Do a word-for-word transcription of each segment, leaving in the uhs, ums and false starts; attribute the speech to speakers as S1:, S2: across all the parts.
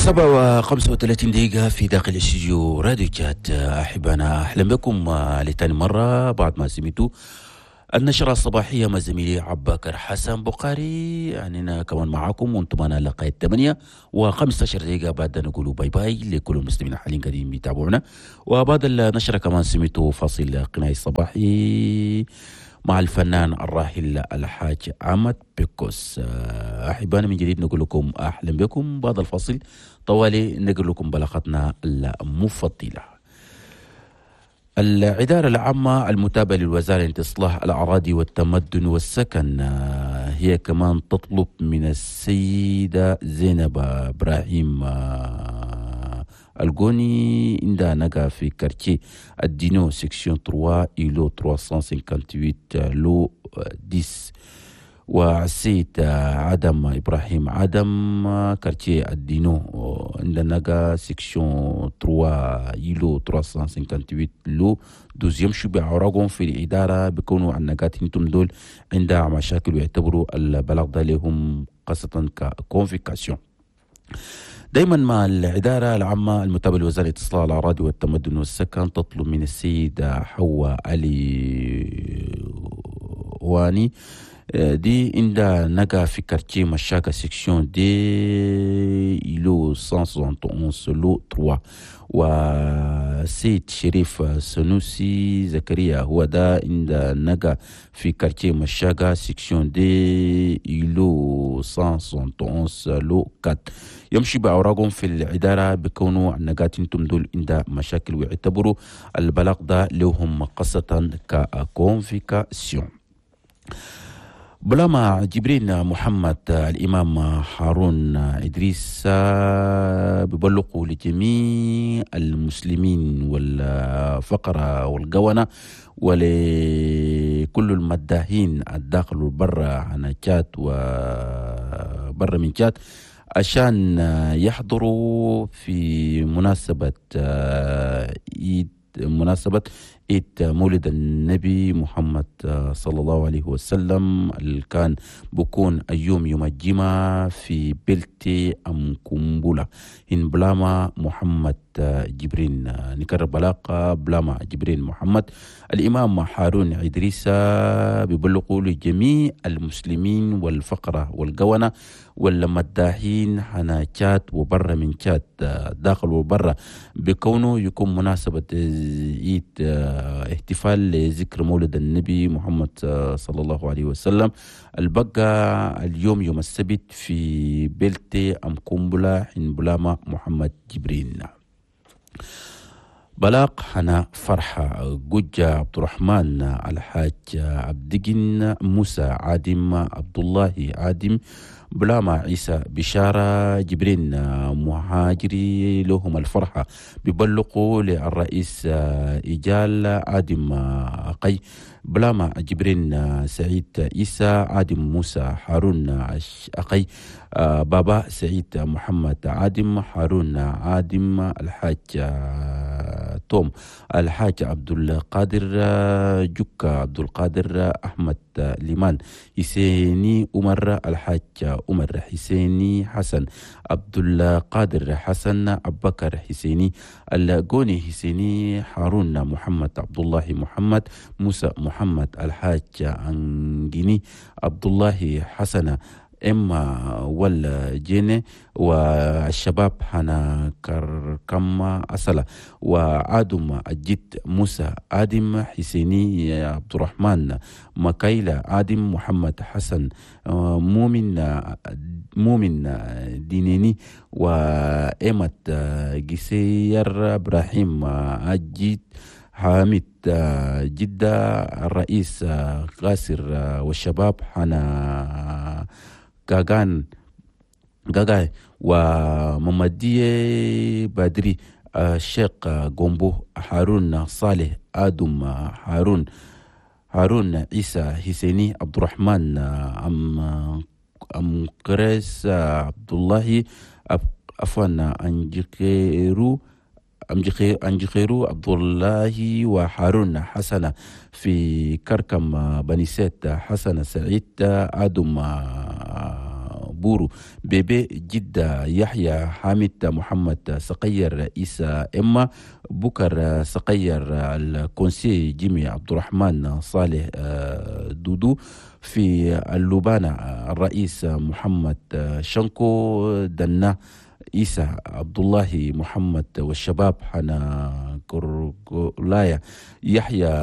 S1: سبعة وخمسة وثلاثين دقيقة في داخل استديو راديو تشاد. أحبنا أهلا بكم لتاني مرة بعد ما سمعتوا النشرة الصباحية مع زميلي عباكر حسن بقاري. يعني كمان معاكم وانتم معنا لغاية ثمانية وخمسة عشر دقيقة بعد نقولوا bye bye لكل المسلمين حاليا قاعدين بيتابعونا. وبعد النشرة كمان سمعتوا فاصل غنائي الصباحي مع الفنان الراحل الحاج أحمد بيكوس. أحبانا من جديد نقول لكم أهلا بكم. بعد الفاصل طوالي نقول لكم بلاغتنا المفضلة. الإدارة العامة المتابعة للوزارة لإصلاح الأراضي والتمدن والسكن هي كمان تطلب من السيدة زينب إبراهيم الجوني عندها نقا في quartier الدينو section ثلاثة îlot ثلاثمية وثمانية وخمسين lot عشرة، والسيد عدم إبراهيم عدم quartier الدينو عندنا نقا section ثلاثة îlot ثلاثمية وثمانية وخمسين lot اثنين يمشوا بأوراقهم في الإدارة، بيكونوا النقات انتم دول عندها مشاكل ويعتبروا البلاغ ده لهم خاصة ك convocation. دايما مع الإدارة العامة المتابعة لوزارة إصلاح الأراضي والتمدن والسكن تطلب من السيدة حواء علي واني دي عندها نقا في quartier مشاكا section deux îlot مية واحد وستين lot ثلاثة، وسيد شريف سنوسي زكريا هو ده عند نقا في quartier مشاكا section deux îlot مية وواحد وستين lot أربعة. يمشي بأوراقهم في الإدارة بكونوا النقات انتم دول عند مشاكل ويعتبروا البلاغ ده لهم قصة ك convocation. بلاما جبرين محمد الإمام هارون إدريس ببلغوا لجميع المسلمين والفقراء والقونة ولكل المداهين الداخل والبرة عن تشاد وبر من تشاد عشان يحضروا في مناسبة عيد مناسبة عيد مولد النبي محمد صلى الله عليه وسلم اللي كان بكون اليوم يوم الجمعة في بلتي أم كومبولا إن بلاما محمد جبرين. نكرر بلاقة بلاما جبرين محمد الإمام هارون إدريس بيبلغوا لجميع المسلمين والفقرة والقونة والمداحين حنا تشاد وبرا من تشاد داخل وبرا بكونه يكون مناسبة عيد احتفال لذكر مولد النبي محمد صلى الله عليه وسلم البقى اليوم يوم السبت في بلتي أم كومبولا حين بلاما محمد جبرين. بلاغ حنا فرحة جوجة عبد الرحمن الحاج عبدجن موسى عادم عبد الله عادم بلاما عيسى بشارة جبرين مهاجري لهم الفرحة ببلغوا للرئيس إيجال عادم قي بلاما جبرين سعيد عيسى عادم موسى هارون أقي بابا سعيد محمد عادم هارون عادم الحاج توم الحاج عبد القادر جوكا عبد القادر أحمد ليمان حسيني عمر الحاج عمر حسيني حسن عبد القادر حسن أبكر حسيني الجوني حسيني هارون محمد عبد الله محمد موسى محمد الحاج أنجيني عبد الله حسن إما والجيني والشباب حنا كركم أصلا وعادم الجد موسى آدم حسيني عبد الرحمن مكايلة آدم محمد حسن مؤمن مؤمن دينيني وإيمت جسير إبراهيم الجد حامد جدة الرئيس قاسر والشباب حنا غاغان غاغاي وممدية بدري الشيخ غومبو هارون صالح آدم هارون هارون عيسى حسيني عبد الرحمن أم أم قريس عبد الله عفوا أنجيرو أنجخيرو عبد الله وهارون حسن في كركم بنيسات حسن سعيد آدم بورو بيبي جدة يحيى حامد محمد سقير إيسا إما بكر سقير الكونسي جيمي عبد الرحمن صالح دودو في اللوبانة الرئيس محمد شنكو دنا عيسى عبد الله محمد والشباب حنا كرغلايا يحيى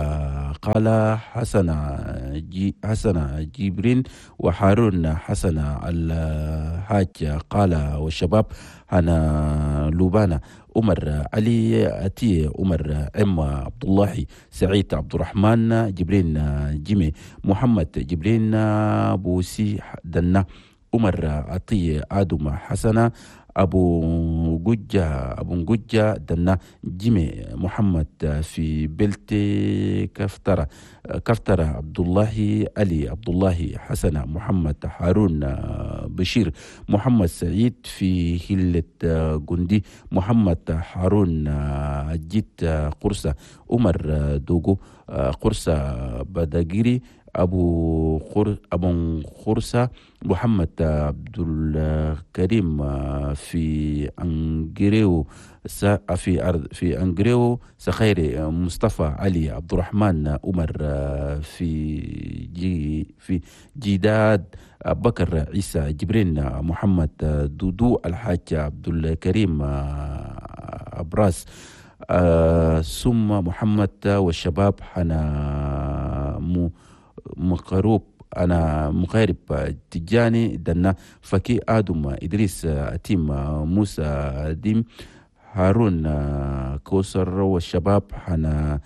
S1: قال حسن جي حسن جبرين وحارون حسن الحاج قال والشباب حنا لوبانا عمر علي أتي عمر عم عبد الله سعيد عبد الرحمن جبرين جيمي محمد جبرين بوسي دنا عمر عطية آدم حسنة أبو ججة أبو ججة دنا جيمي محمد في بلتي كفترة كفترة عبد الله علي عبد الله حسن محمد هارون بشير محمد سعيد في هلة جندي محمد هارون جيت قرصة عمر دوغو قرصة بداجيري أبو خر أبو خرسة محمد عبد الكريم في أنجريو في أرض في أنجريو سخيري مصطفى علي عبد الرحمن عمر في جي في جداد بكر عيسى جبرين محمد دودو الحاج عبد الكريم أبراس ثم محمد والشباب حنا مو مقروب أنا مغارب تجاني دنا فكي آدم إدريس أتيم موسى ديم هارون كوسر والشباب حنا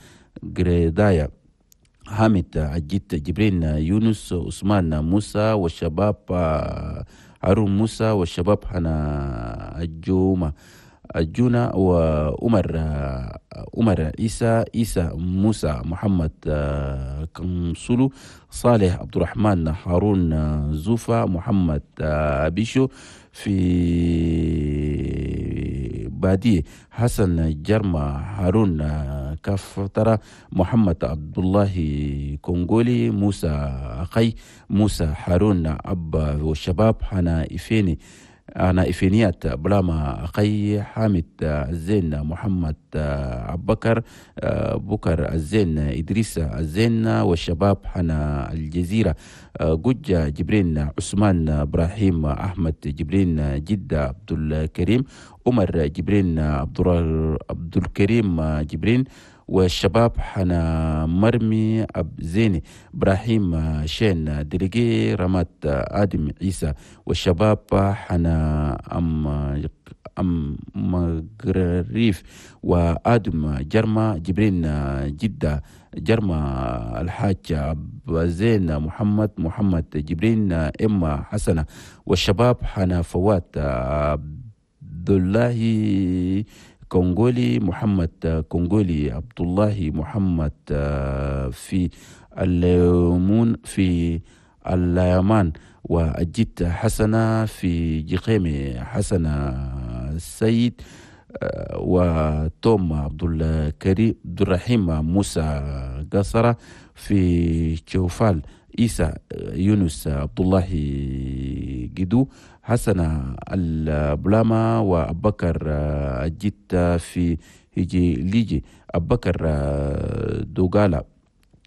S1: جريدايا حامد عجيت جبرين يونس عثمان موسى والشباب هارون موسى والشباب حنا الجومة الجونة وعمر عمر عيسى عيسى موسى محمد كنسولو صالح عبد الرحمن هارون زوفا محمد أبيشو في بادي حسن جرما هارون كفترة محمد عبد الله كونغولي موسى أخي موسى هارون أبا والشباب حنا إفيني أنا إفينيات بلاما أخي حامد الزين محمد عبكر بكر الزين إدريس الزين والشباب حنا الجزيرة جوجة جبرين عثمان إبراهيم أحمد جبرين جدة عبد الكريم عمر جبرين عبد الكريم جبرين والشباب حنا مرمي أب زيني إبراهيم شين دليجي رمات آدم عيسى والشباب حنا أم أم مغريف وآدم جرما جبرين جدة جرما الحاج أب زين محمد محمد جبرين إما حسنة والشباب حنا فوات عبد الله كونغولي محمد كونغولي عبد الله محمد في الليمون في اليمان وأجيت حسنة في جقيمي حسنة السيد وتوم عبد الكريم عبد الرحيم موسى قصرة في شوفال عيسى يونس عبد الله جدو حسن البلاما وأبكر الجيت في هيجي ليجي أبكر دوغالا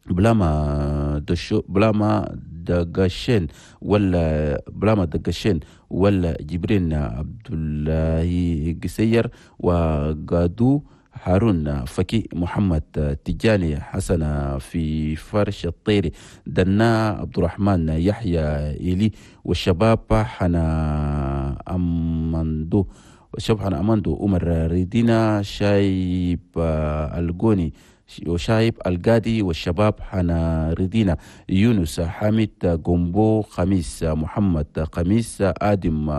S1: بلاما دشو بلاما دقشين ولا بلاما دقشين ولا جبرين عبد الله قسير وقادو هارون فكي محمد تجاني حسن في فرش الطير دنا عبد الرحمن يحيى إلي والشباب حنا أماندو والشباب حنا أماندو عمر ريدينا شايب الجوني وشايب القادي والشباب حنا ريدينا يونس حامد جومبو خميس محمد خميس آدم